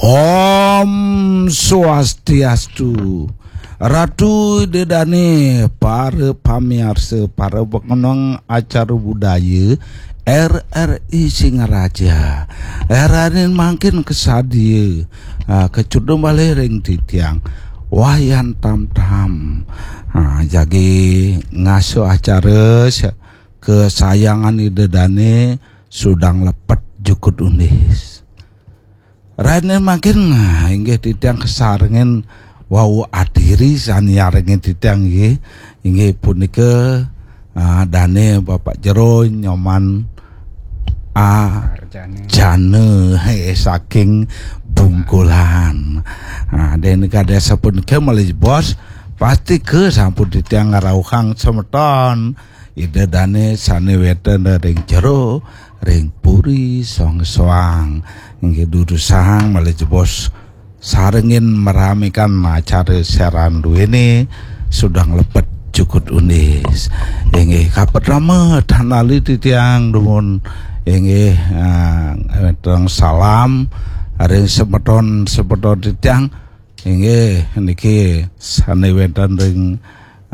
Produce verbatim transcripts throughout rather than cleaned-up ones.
Om Swastiastu. Ratu Ida Dane, para pamiarsa, para pengenang acara budaya R R I Singaraja. Ranin mangkin kesadia, ah, kecudung malih ring titiang. Wayan tam-tam. Ah, jagi ngasuh acara sa-, kesayangan Ida Dane, Sudang Lepet Jukut Undis. Ranin mangkin, ah, inggih titiang kasarengin wau adiri sane nyarengin titiang nggih. Inggih punika, ah, dane Bapak Jero Nyoman Arjana. Jana, eh, saking Bungkulan. Ah, den kade sapunika malih jebos, pasti ke sampun titiang ngrauhang semeton Ida Dane sane wenten ring jero, ring puri soang-soang. Inggih durusang malih jebos sarengin meramekan acara siaran duene Sudang Lepet Jukut Undis. Inggih kapertama tan lali titiang dumun inggih, ah, wenten salam ring semeton-semeton titiang. Inggih niki sane wenten ring,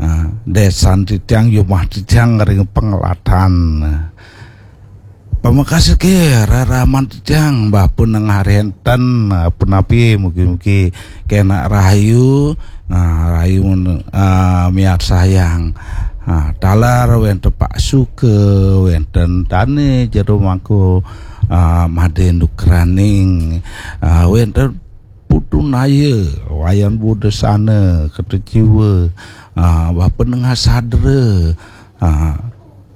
ah, desan titiang, yumah titiang ring Penglatan. Pamekasike reraman titiang, bah pun nengah renten, ah, punapi, mugi-mugi kenak rahayu, ah, rahayu, ah, miarsayang. Ah, taler wenten Pak Suke, wenten Dane Jero Mangku, ah, Made Nukraning, ah, wenten Putu Naya, Wayan Budasana, Kerta Jiwa, ah, Bapa Nengah Sadra, ah,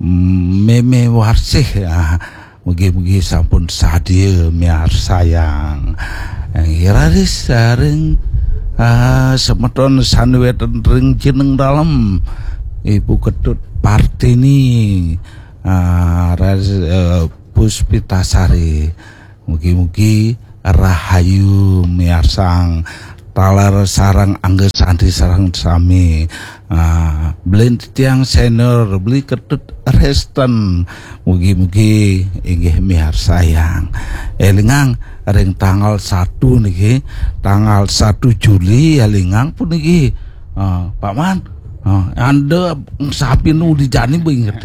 Meme Warsih, ah, mugi-mugi sampun sadia miarsayang. Eh, raris, ah, ring, ah, semeton sane wenten ring jeneng dalem, Ibu Ketut Partini, ah, raris, eh, Puspitasari. Mugi-mugi rahayu miarsang taler sareng angga santi sareng sami. Ah, Beli Titiang Senior, Beli Ketut Resten. Mugi-mugi inggih miarsayang. Elingang ring tanggal satu niki, tanggal satu Juli elingang puniki. Ah, Pak Man, ah, anda sapi nu di jani inget.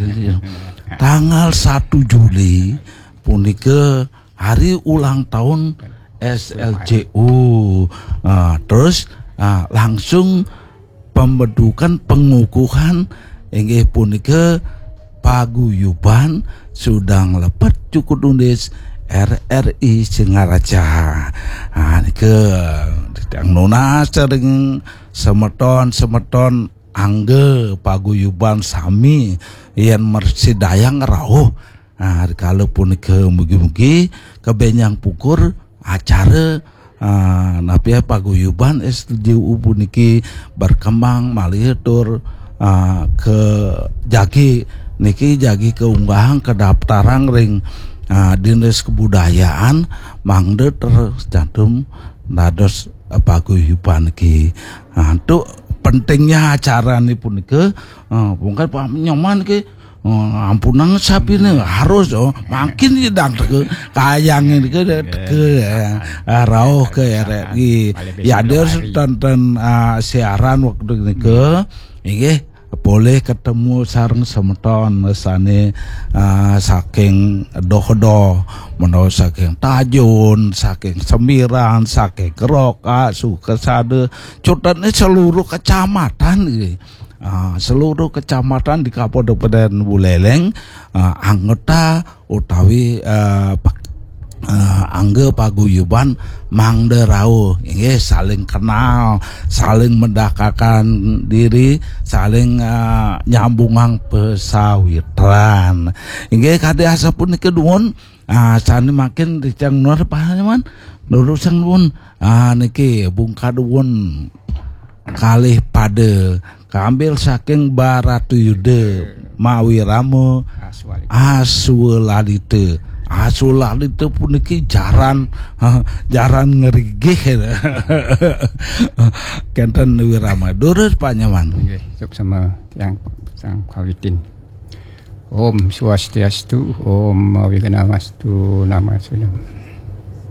Tanggal satu Juli punika hari ulang tahun S L J U. Ah, terus, ah, langsung pembentukan pengukuhan inggih punika paguyuban Sudang Lepet Jukut Undis R R I Singaraja. Ah, nika titiang nunas ring semeton-semeton angga paguyuban sami yen mrasidayang rauh. Ah, rikala punika mugi-mugi kabenjang pungkur acara, ah, napi paguyuban S L J U puniki berkembang malih tur, ah, ke jagi niki jagi kaunggahang kadaftarang ring, ah, Dinas Kebudayaan mangda tercantum dados, ah, paguyuban niki. Ah, antuk pentingnya acara ni punika, ah, pungkat Pak Nyoman niki, ah, ampunang sapine harus, oh, mangkin nyidang teka kayang niki teka, eh, ah, rauh ke R R I. Ya, dia tonton, ah, siaran waktu nika, inggih, polih ketemu sareng semeton sane, ah, saking Dohdo, menawi saking Tajun, saking Sembiran, saking Keroka, Sukasada, cutane seluruh kecamatan, nggih. Ah, seluruh kecamatan di Kabupaten Buleleng, ah, anggota utawi, eh, pak-, eh, angga paguyuban mangda rauh, inggih, saling kenal, saling mendekatkan diri, saling, eh, nyambungang pasawitran. Inggih, kadi asapunika dumun, ah, sane mangkin titiang nunas pangayoman, durusang dumun, ah, niki bungkah dumun kalih pada kambil saking Baratayuda mawi rama Aswalita. Aswalalita. Aswalalita puniki jaran, jaran ngrigih. Kenten wirama. Durus pangayoman. Nggih, suksma tiang sang kawitin. Om Swastiastu, Om Awighnamastu, Namasunam.